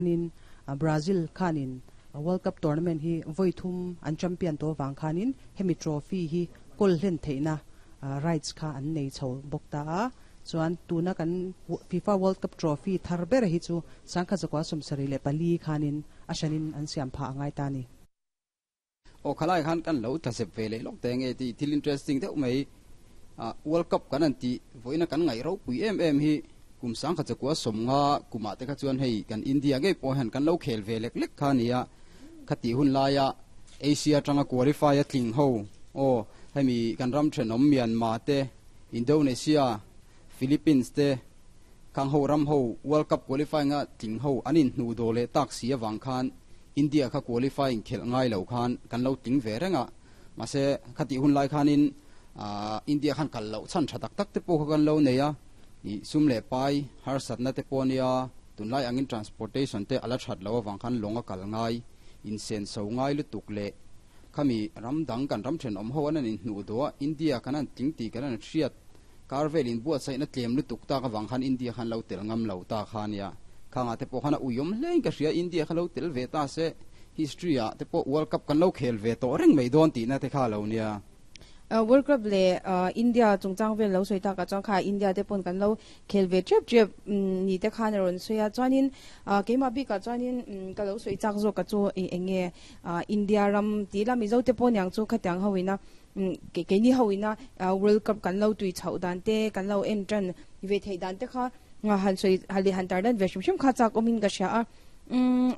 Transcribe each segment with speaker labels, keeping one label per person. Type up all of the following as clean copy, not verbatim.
Speaker 1: In Brazil khanin World Cup tournament hi vawi thum an champion tawh avang khanin hemi trophy hi kawl hlen theihna rights kha an nei chho bawk ta a. Chuan tuna kan FIFA World Cup trophy thar ber hi chu sangkhat zakua 74 khanin a hranin an siam phah a ngai ta a ni.
Speaker 2: Aw khalai khan kan lo tla zep ve leh lawk te nge tih thil interesting deuh mai World Cup kan han tih vawiina kan ngaih ropui em em hi kum 1950 kumah te kha chuan hei kan India ngei pawh hian kan lo khel ve lek lek kha a ni a, khatih hun laia Asia atanga qualify a tling ho aw hemi kan ram thenawm Myanmar te, Indonesia, Philippines te Khang ho ram ho World Cup qualifying a tling ho an inhnuh dawh leh tak si avang khan India kha qualifying khelh ngai lo khan kan lo tling ve reng a, mahse khatih hun lai khanin India khan kal loh chhan tha tak tak te pawh kha kan lo nei a, ih sum leh pai harsatna te pawh ania tunlai angin transportation te a la that loh avang khan lawng a kal ngai, insenso ngai lutuk leh khami ram dang kan ram thenawm ho an an inhnuh dawh a, India kan han tling tih kan han hriat Kar vel inbuatsaihna tlem lutuk tak avang khan India khan lo tel ngam lo ta kha nia. Khangah te pawh khan a uiawm hlein ka hria, India kha lo tel ve ta se history ah te pawh World Cup kan lo khel ve tawh reng mai dawn tihna te kha lo nia.
Speaker 3: World Cup leh India chungchang vel lo sawi takah chuan kha India te pawn kan lo khel ve tep tep ni te khan a rawn sawi a. Chuanin keimah bikah chuanin ka lo sawi chak zawk ka chu eng nge India ram tih ila Mizo te pawh niang chu khatiang ho ina Keini ho ina World Cup kan lo tui chhoh dan te, kan lo en tan ve theih dan te kha han sawi han leh han tar dan ve hrim hrim kha chak awmin ka hria a.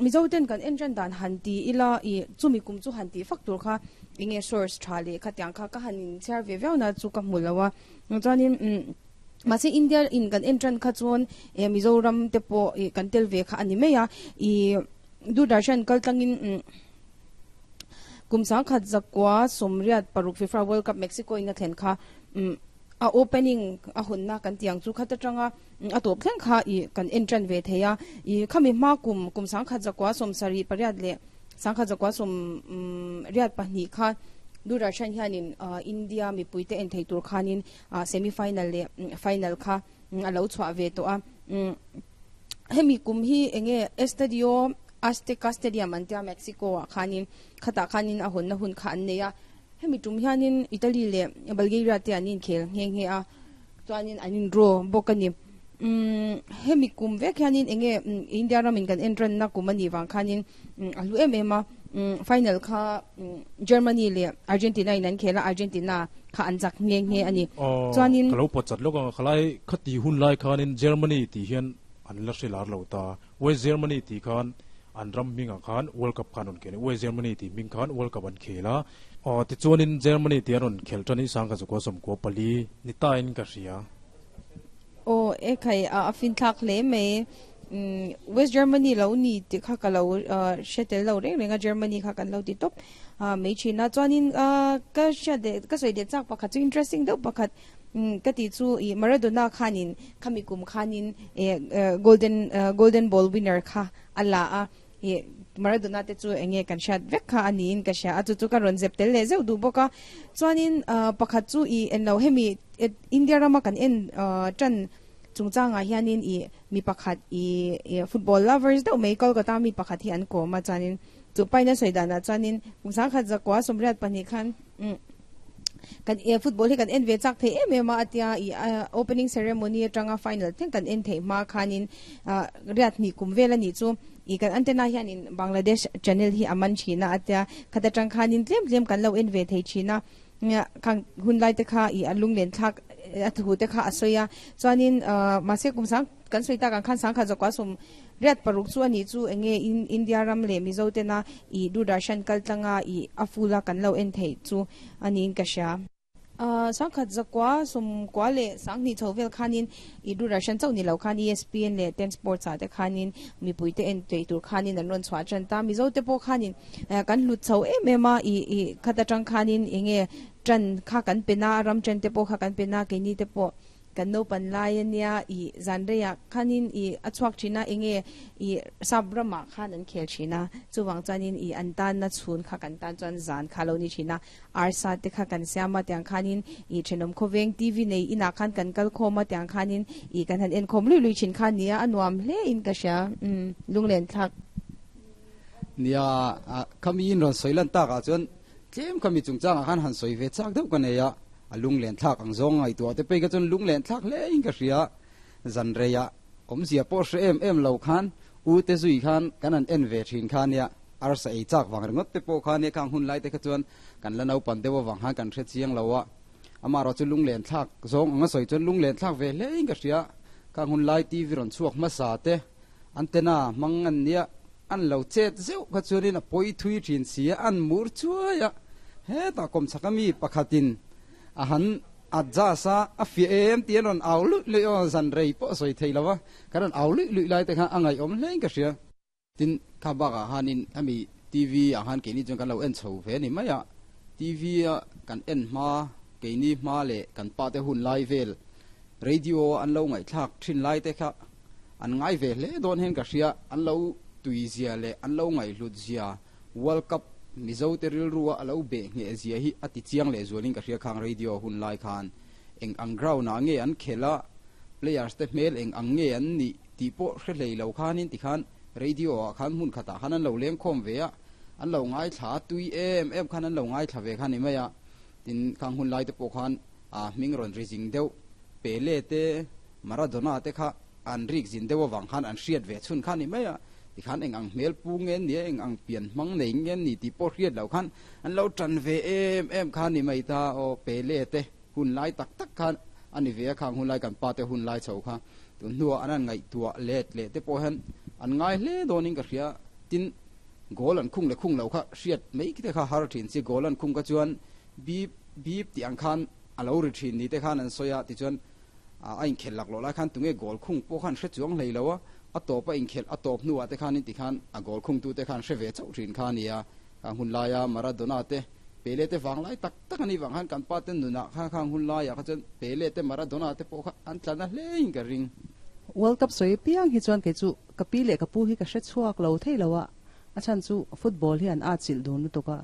Speaker 3: Mizo ten kan en tan dan han ti ila i chumi kum chu han tih fak tur kha enge source tha leh khatiang kha ka han inchhiar ve viau na chu ka hmu lo a. Chuanin mahse India in kan en tan kha chuan Mizoram te pawh kan tel ve kha a ni mai a. I Doordarshan kal tlangin Kum 1986 FIFA World Cup Mexico in a thlen kha a opening a hawnna kan tih ang chu khat atanga a tawp thleng kha i kan en tan ve thei a. I khami hma kum kum 1978 leh 1982 kha Doordarshan hianin India mipuite en thei tur khanin semi final leh final kha a lo chhuah ve tawh a. Hemi kum hi enge Estadio Azteca Stadium an tia Mexico ah khanin khatah khanin a hawnna hun kha an nei a. Hemi tum hianin Italy leh Bulgaria te an inkhel nghe nghe a, chuanin an in draw bawk a ni. Hemi kum vek hianin enge India ramin kan en ranna kum a nih vang khanin a hlu em em a. Final kha Germany leh Argentina in an khel a, Argentina kha an chak nghe nghe a ni.
Speaker 4: Chuanin. Ka lo pawt chat lawk a, khalai khati hun lai khanin Germany tih hian an la hre lar lo ta. West Germany tih khan an ram hmingah khan World Cup kha an rawn khel a, West Germany tih hming khan World Cup an khel a. Aw, tichuanin Germany tih an rawn khel tan hi 1994 ni tain ka hria.
Speaker 3: Aw, e khai, a finthlak hle mai. West Germany lo ni tih kha ka lo hre tel lo reng reng a, Germany kha kan lo ti tawp mai thin a. Chuanin ka hriat leh ka sawi leh chak pakhat chu interesting deuh pakhat ka tih chu ih Maradona khanin khami kum khanin ih golden golden ball winner kha a la a, ih Maradona te chu eng nge kan hriat vek kha a niin ka hria a, chu chu ka rawn zep tel leh zeuh duh bawk a. Chuanin pakhat chu ih englo hemi India rama kan en tan chungchangah hianin ih mi pakhat ih football lovers deuh mai Kolkata mi pakhat hi an kawm a, chuanin chu paina sawi danah chuanin kum 1982 khan Kan e football hi kan en ve chak thei em em a, a tia i opening ceremony atanga final thleng kan en theih hma khanin riat hnih kum vel a nih chu i kan antenna hianin Bangladesh channel hi a man thin a, a tia khat atang khanin tlem tlem kan lo en ve thei thin a, khang hun lai te kha i a lunglen thlak a thu te kha a sawi a, chuanin mahse kum sang kan sawi tak ang khan 1986 chu a nih chu enge India ram leh Mizo tena i Doordarshan kal tlanga i a full a kan lo en theih chu a niin ka hria. 1992 chho vel khanin i Doordarshan chauh ni lo khan ESPN leh Ten Sports ah te khanin mipui te en theih tur khanin an rawn chhuah tan ta. Mizo te pawh khanin kan hlut chho em em a, i i khat atang khanin enge tan kha kan pen a, ram tan te pawh kha kan pen a, keini te pawh. Kan naupan lai ania i zan reiah khanin i a chhuak thin a, enge i sap ramah khan an khel thin a, chuvang chuanin i an tanna chhun kha kan tan chuan zan kha lo ni thin a, arsa te kha kan siam a tiang khanin i thenawm khawveng TV nei inah khan kan kal khawm a tiang khanin i kan han enkhawm lui lui thin kha nia a nuam hle in ka hria umm lunglen thlak.
Speaker 2: Nia, khami in rawn sawi lan takah chuan tlem khami chungchangah khan han sawi ve chak deuh ka nei a. A lunglen thlak ang zawng ngaihtuah te pei kha chuan lunglen thlak hle in ka hria. Zan reiah awmzia pawh hre em em lo khan u te zui khan kan han en ve thin kha nia, arsa ei chak vang ringawt te pawh kha nia khang hun lai te kha chuan kan la naupan deuh avang khan kan hre chiang lo a. Amaherawh chu lunglen thlak zawng anga sawi chuan lunglen thlak ve hle in ka hria. Khang hun lai TV rawn chhuak hmasa te antenna hmang an nia an lo chet zeuh kha chuanin a pawi thui thin si a, an mur chuai a, hetah kawmchhak ami pakhatin a han adjust a, a fiah em tih an rawn au luih luih aw, zan rei pawh a sawi thei lo va, kan rawn au luih luih lai te kha a ngaihawm hlein ka hria. Tin, kha bakah khanin hemi TV ah khan keini chuan kan lo en chho ve a ni mai a, TV a kan en hma, keini hma leh kan pa te hun lai vel radio a an lo ngaihthlak thin lai te kha An ngai ve hle dawn hian ka hria, an lo tui zia leh an lo ngaihhlut zia, World Cup Mizo te rilrua a lo beh ngheh zia hi a ti chiang leh zualin ka hria khang radio hun lai khan eng ang ground ah nge an khelh a, players te hmel eng ang nge an nih tih pawh hre hlei lo khanin tikhan radio ah khan hmun khatah khan an lo leng khawm ve a, an lo ngaithla a tui em em khan an lo ngaithla ve kha ni mai a, tin khang hun lai te pawh khan a hming rawn ri zing deuh Pele te Maradona te kha an rik zin deuh avang khan an hriat ve chhun kha ni mai a, tikhan eng ang hmel pu nge ni a, eng ang pian hmang nei nge ni tih pawh hriat loh khan an lo tan ve em em kha ni mai ta aw, Pele te hun lai tak tak khan a ni ve a, khang hun lai kan pa te hun lai chho kha tun hnuah an han ngaihtuah let leh te pawh hian an ngai hle dawnin ka hria, tin goal an khung leh khung loh kha hriat mai te kha har thin chi, goal an khung kha chuan bip bip tih ang khan a lo ri thin ni te khan an sawi a, tichuan a inkhelh lak loh lai khan tunge goal khung pawh khan hre chuang hlei lo a, a tawp a inkhelh a tawp hnuah te khanin tikhan a goal khungtu te khan hre ve chauh thin kha a ni a, khang hun laia Maradona te Pele te vang lai tak tak a nih vang khan kan pa te nunah khan khang hun laiah kha chuan Pele te Maradona te pawh kha an tla na hlein ka ring.
Speaker 1: World Cup sawi piang hi chuan kei chu ka pi leh ka pu hi ka hre chhuak lo thei lo a, a chhan chu football hi an atchilh dun lutuk a,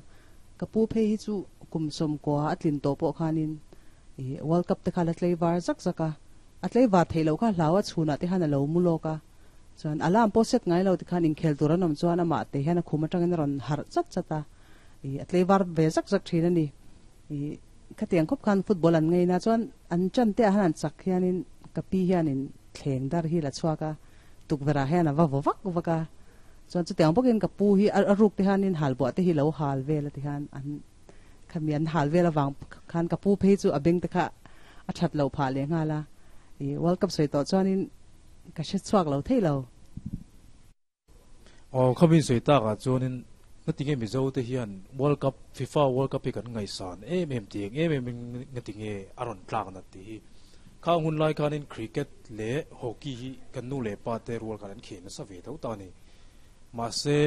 Speaker 1: Ka pu phei hi chu kum sawmkua a tlin tawh pawh khanin ih World Cup te kha la tlei var zak zak a, a tlei var theih loh kha hlau a chhunah te khan a lo mu lawk a, chuan alarm pawh set ngai lo tikhan inkhel tur an awm chuan amah te hian a khum atangin a rawn harh chat chat a, ih a tlei var ve zak zak thin a ni. Ih khatiang khawp khan football an ngei na chuan an chan te ah han an chak hianin ka pi hianin thleng dar hi la chhuak a, tukverh ah hian a va vaw vak vak a, Chuan chutiang bawkin ka pu hi a ruk te hianin halbuah te hi lo hal vel a ti khan an khami an hal vel avang khan ka pu phei chu a beng te kha a that loh phah leh nghal a, i World Cup sawi tawh chuanin ka hre chhuak lo thei lo.
Speaker 4: Aw khami sawi takah chuanin ngatinge Mizo te hian World Cup FIFA World Cup hi kan ngaihsan em em tih eng em em in ngatinge a rawn tlak nat tih hi Khang hun lai khanin cricket leh hockey hi kan nu leh pa te rual khan an khel nasa ve tho ta a ni. Mahse,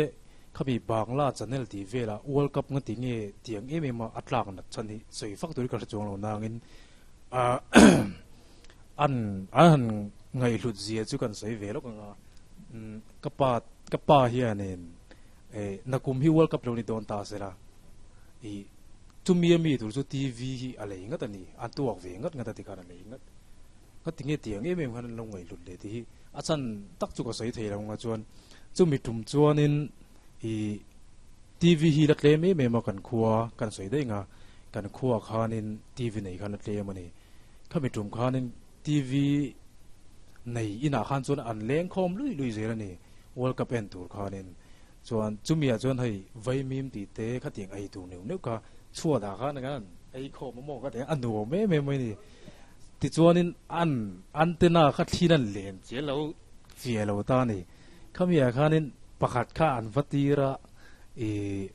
Speaker 4: khami Bangla channel tih velah World Cup nga ti nge tiang em em a a tlak nat chhan hi sawi fak turin ka hre chuang lo nangin an an han ngaihhlut zia chu kan sawi ve lawk ang a. Ka pa ka pa hianin nakum hi World Cup lo ni dawn ta sela ih Chumi a mi tur chu TV hi a lei ngat a ni, a tuak ve ngat ngat a tikhan a lei ngat. Ka ti nge tiang em em khan an lo ngaihhlut leh tih hi a chan tak chu ka sawi thei lo anga chuan chumi tum chuanin ih TV hi la tlem em em a kan khua kan sawi daih nga kan khua khanin TV nei khan la tlem a ni. Khami tum khanin TV nei inah khan chuan an leng khawm lui lui zel a ni World Cup en tur khanin. Chuan chumi ah chuan hei vaimim tih te khatiang ei tur neuh neuh kha chhuat ah khan an ei khawm a maw ka ti a, a nuam em em mai a ni. Tichuanin an antenna kha thlir an len chiah lo chiah lo ta a ni. Khami ah khanin pakhat kha an va tir a, ih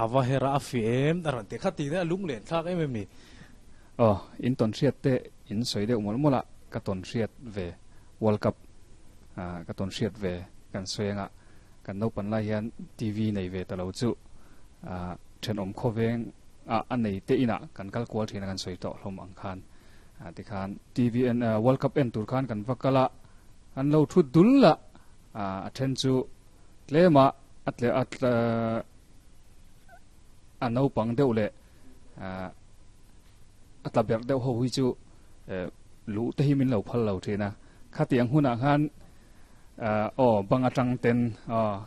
Speaker 4: a va her a, a fiah em a rawn ti kha tih a lung len thlak em em a ni.
Speaker 5: Aw, in tawn hriat te in sawi deuh mawlh mawlh a, ka tawn hriat ve World Cup ka tawn hriat ve kan sawi anga kan naupan lai hian TV nei ve ta lo chu thenawm khawveng ah a nei te inah kan kal kual thin a kan sawi tawh hlawm ang khan. Tikhan TV en World Cup en tur khan kan va kal a, an lo thu dul a, a then chu tlema a tle a a naupang deuh leh a tla berh deuh ho hi chu luh te hi min lo phal lo thin a. Khatiang hunah khan aw bang atang ten aw.